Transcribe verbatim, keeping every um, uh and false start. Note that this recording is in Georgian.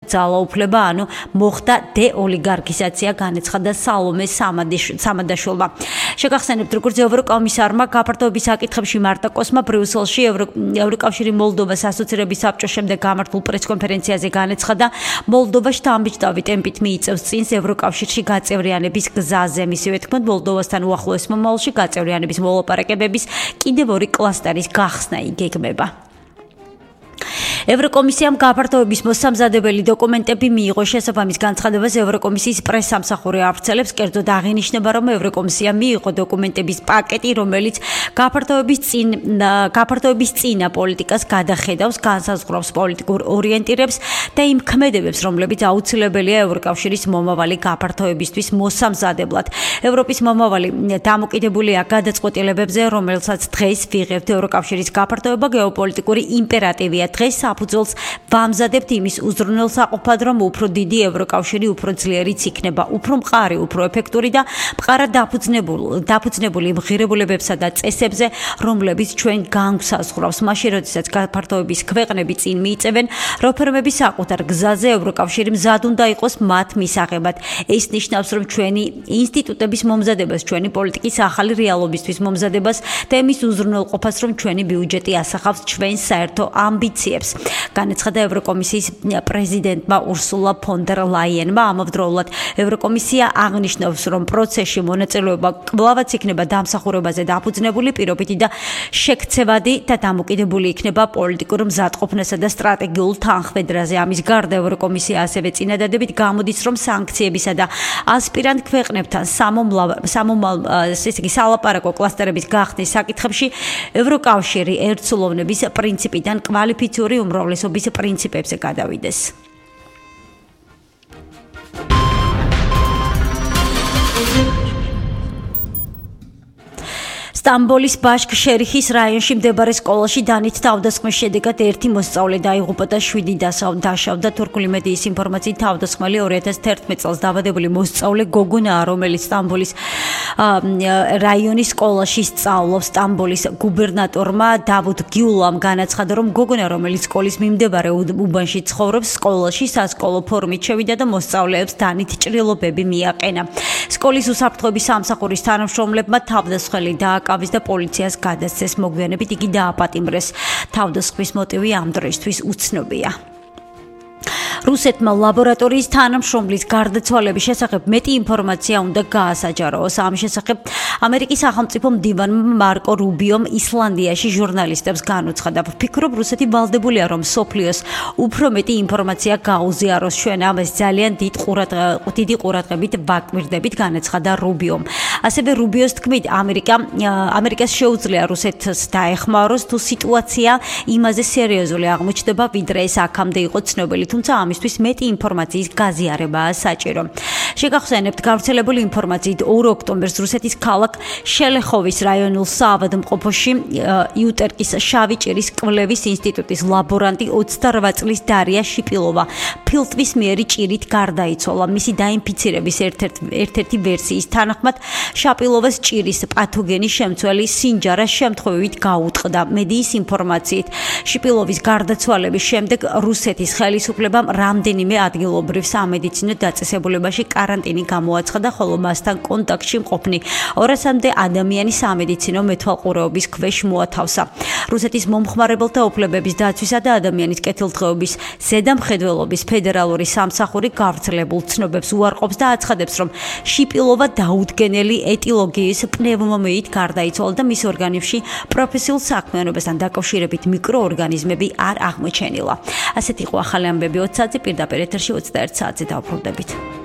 ძალაუფლება, ანუ მოხდა დეოლიგარქიზაცია, განეცხადა სალომე სამადაშვილმა. შეგახსენებთ, როგორც ევროკომისარმა გაფართოების საკითხებში მარტაკოსმა ბრიუსელში ევროკავშირი მოლდოვას ასოცირების საბჭოს შემდეგ გამართულ პრესკონფერენციაზე განეცხადა, მოლდოვა შთამბეჭდავი ტემპით მიიწევს წინს ევროკავშირში გაწევრიანების გზაზე. მისივე თქმით, მოლდოვასთან უახლოეს მომავალში გაწევრიანების მოლაპარაკებების კიდევ ორი კლასტერის გახსნა იგეგმება. ევროკომისიამ გაფართოების მოსამზადებელი დოკუმენტები მიიღო. შესაბამის განცხადებას ევროკომისიის პრესსამსახური ავრცელებს, კერძოდ აღინიშნება, რომ ევროკომისიამ მიიღო დოკუმენტების პაკეტი, რომელიც გაფართოების წინ გაფართოების წინა პოლიტიკას გადახედავს, განსაზღვრავს პოლიტიკურ ორიენტირებს და იმ ქმედებებს, რომლებიც აუცილებელია ევროკავშირის მომავალი გაფართოებისთვის მოსამზადებლად. ევროპის მომავალი დამოკიდებულია გადაწყვეტილებებზე, რომელსაც დღეს ვიღებთ. ევროკავშირის გაფართოება გეოპოლიტიკური იმპერატივია. დღეს საფუძველს ვამზადებთ იმის უზრუნველსაყოფად, რომ უფრო დიდი ევროკავშირი უფრო ძლიერიც იქნება, უფრო მყარი, უფრო ეფექტური და მყარად დაფუძნებული მღირებულებებსა და წესებზე, რომლებიც ჩვენ განგვსაზღვრავს. მაშინ, როდესაც გაფართოების ქვეყნები წინ მიიწევენ რეფორმების საკუთარ გზაზე, ევროკავშირი მზად უნდა იყოს მათ მისაღებად. ეს ნიშნავს, რომ ჩვენი ინსტიტუტების მომზადებას, ჩვენი პოლიტიკის ახალი რეალობისთვის მომზადებას და იმის უზრუნველყოფას, რომ ჩვენი ბიუჯეტი ასახავს ჩვენს საერთო ამბიციებს. განეცხადა ევროკომისიის პრეზიდენტმა ურსულა ფონ დერ ლაიენმა. ამავდროულად ევროკომისია აღნიშნავს, რომ პროცესში მონაწილეობა კვლავაც იქნება დამსახურებაზე დაფუძნებული, პირობითი და შექცევადი და დამოკიდებული იქნება პოლიტიკურ მზადყოფნასა და სტრატეგიულ თანხმედრაზე. ამის გარდა ევროკომისია ასევე წინადადებით გამოდის, რომ სანქციებისა და ასპირანტ ქვეყნებთან სალაპარაკო კლასტერების გახსნის საკითხებში ევროკავშირი ერთსულოვნების პრინციპიდან კვალიფიციური უმრავლესობის პრინციპებზე გადავიდეს. სტამბოლის ბაშქ-შერიხის რაიონში მდებარე სკოლაში დანით თავდასხმის შედეგად ერთი მოსწავლე დაიღუპა და შვიდი დაშავდა. თურქული მედიის ინფორმაციით, თავდასხმელი ორი ათას თერთმეტ წელს დაბადებული მოსწავლე გოგონაა, რომელიც სტამბოლის რაიონის სკოლაში სწავლობს. სტამბოლის გუბერნატორმა დავუდ გიულამ განაცხადა, რომ გოგონა, რომელიც სკოლის მიმდებარე უბანში ცხოვრობს, სკოლაში სასკოლო ფორმით შევიდა და მოსწავლეებს დანით ჭრილობები მიაყენა. სკოლის უსაფრთხოების სამსახურის თანამშრომლებმა თავდასხმელი დააკავეს და პოლიციას გადასცეს. მოგვიანებით იგი დააპატიმრეს. თავდასხმის მოტივი ამ დროისთვის უცნობია. რუსეთმა ლაბორატორიის თანამშრომლის გარდაცვალების შესახებ მეტი ინფორმაცია უნდა გაასაჯაროოს. ამ შესახებ ამერიკის სახელმწიფო მდივანმა მარკო რუბიომ ისლანდიაში ჟურნალისტებს განუცხადა. ვფიქრობ, რუსეთი ვალდებულია, რომ სოფლიოს უფრო მეტი ინფორმაცია გაუზიაროს. ჩვენ ამას ძალიან დიდი ყურადღებით ვაკვირდებით, განაცხადა რუბიომ. ასევე რუბიოს თქმით, ამერიკა ამერიკას შეუძლია რუსეთს დაეხმაროს, თუ სიტუაცია იმაზე სერიოზული აღმოჩნდება, ვიდრე ეს აქამდე იყო ცნობილი, თუმცა ამისთვის მეტი ინფორმაციის გაზიარებაა საჭირო. შეგახსენებთ, გავრცელებული ინფორმაციით, ორი ოქტომბერს რუსეთის ქალაქ შელეხოვის რაიონულ საავადმყოფოში იუტერკის შავი ჭირის კვლევის ინსტიტუტის ლაბორანტი ოცდარვა წლის დარია შიპილოვა ფილტვის მიერი ჭირით გარდაიცვალა. მისი დაინფიცირების ერთ-ერთი ვერსიის თანახმად შაპილოვას ჭირის პათოგენი შემცველი სინჯარას შემთხვევით გაუტყდა. მედიის ინფორმაციით, შიპილოვის გარდაცვალების შემდეგ რუსეთის ხელისუფლებამ რამდენიმე ადგილობრივ სამედიცინო დაწესებულებაში კარანტინი გამოაცხადა, ხოლო მასთან კონტაქტში მყოფნი ორასამდე ადამიანი სამედიცინო მეთვალყურეობის ქვეშ მოათავსა. რუსეთის მომხმარებელთა უფლებების დაცვისა და ადამიანის კეთილდღეობის ზედამხედველობის ფედერალური სამსახური გავრცელებულ ცნობებს უარყოფს და აცხადებს, რომ შიპილოვა დაუდგენელი ეტილოგიის პნევმომიით გარდაიცვალა და მის ორგანიზმში პროფესიულ საქმიანობასთან დაკავშირებით მიკროორგანიზმები არ აღმოჩენილა. ასეთი იყო ახალი ამბები ოცი საათზე, პირდაპირ ეთერში ოცდაერთი საათზე დავბრუნდებით.